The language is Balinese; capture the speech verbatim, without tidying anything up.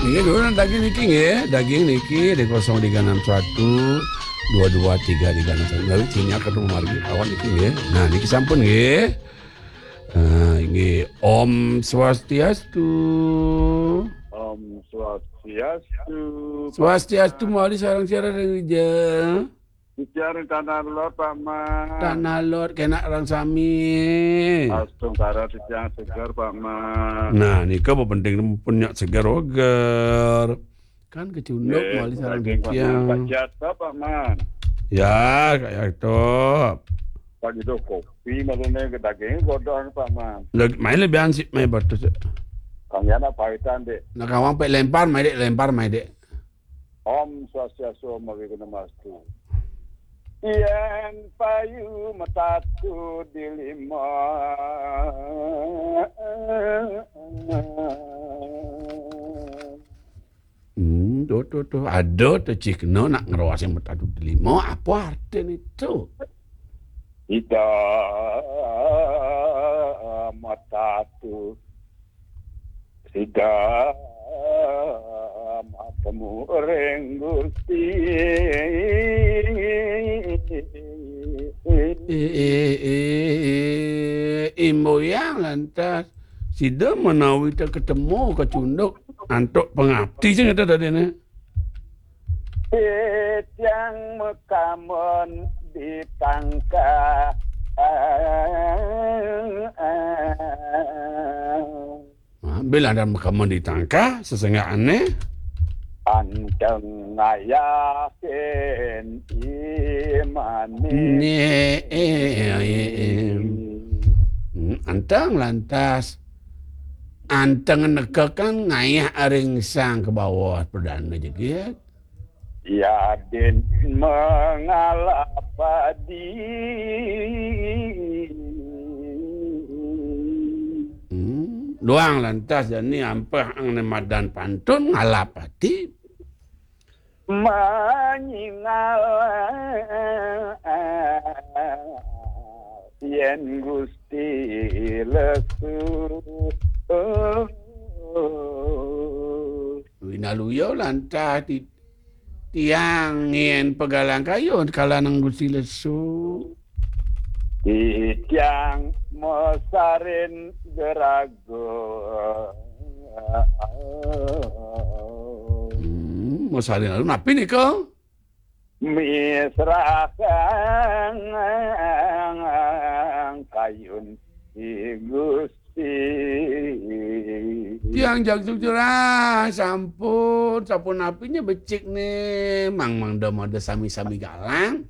Nggih, dulu daging niki nggih, daging niki di kosong tiga enam satu, dua dua tiga tiga enam satu. Lha sinyal ketemu margi kawan niki nggih. Nah, niki sampun nggih. Ah, nggih. Om Swastiastu. Om Swastiastu. Swastiastu, mawali sareng siaran Rijal. Titiang ring Tanah Lot, Pak Man. Tanah Lot, kenak ring sami. Astungkara titiang seger, Pak Man. Nah, nika penting pun nyak seger oger. Kan kecunduk nggih, mawali sareng daging, Pak Man. Titiang. Kak Jata, Pak Man. Ya, kaya to. Pak gitu kopi, maksudnya ke daging godong, Pak Man. Lagi, main lebih ansip, main batus. Kang Yana paitan, Dek. Nah, kawang pek lempar, main Dek, lempar, main Dek. Om Swastiastu, Om Awighnamastu. Yen payu metatu di lima. Hmm, tuh, tuh, tuh. Ada tuh cikna nak ngeroas yang metatu di lima. Apa artinya itu? Ida metatu. Sida matemu ring Gusti. Eh, eh, eh, eh, imboyang lantas. Sida menawi ta ketemu kecunduk antuk pengabdi sing ada tadi ne. Titiang makamun di Tangka. Nah, bila ada makamun di Tangka, sesenggaane anteng ngayahin imane. Ne, eh, eh, eh, eh. Hmm, anteng lantas. Anteng nekekan ngayah ring Sang Kebawa Perdana jegit. Yadin mengalap padi. Hmm, duang lantas jani ampeh angne madan pantun ngalap ati. Manyingal yen Gusti lesu. Winaluya lantas ti-, tiang yen pegalang kayun kalanang Gusti lesu. Titiang mesarin gerago. Hmm, mesarin lalu napi nika? Misrahang kayun di Gusti. Tiang jagjug jurah, sampun, sampun napinya becik ne, mang mangda mada sami-sami galang.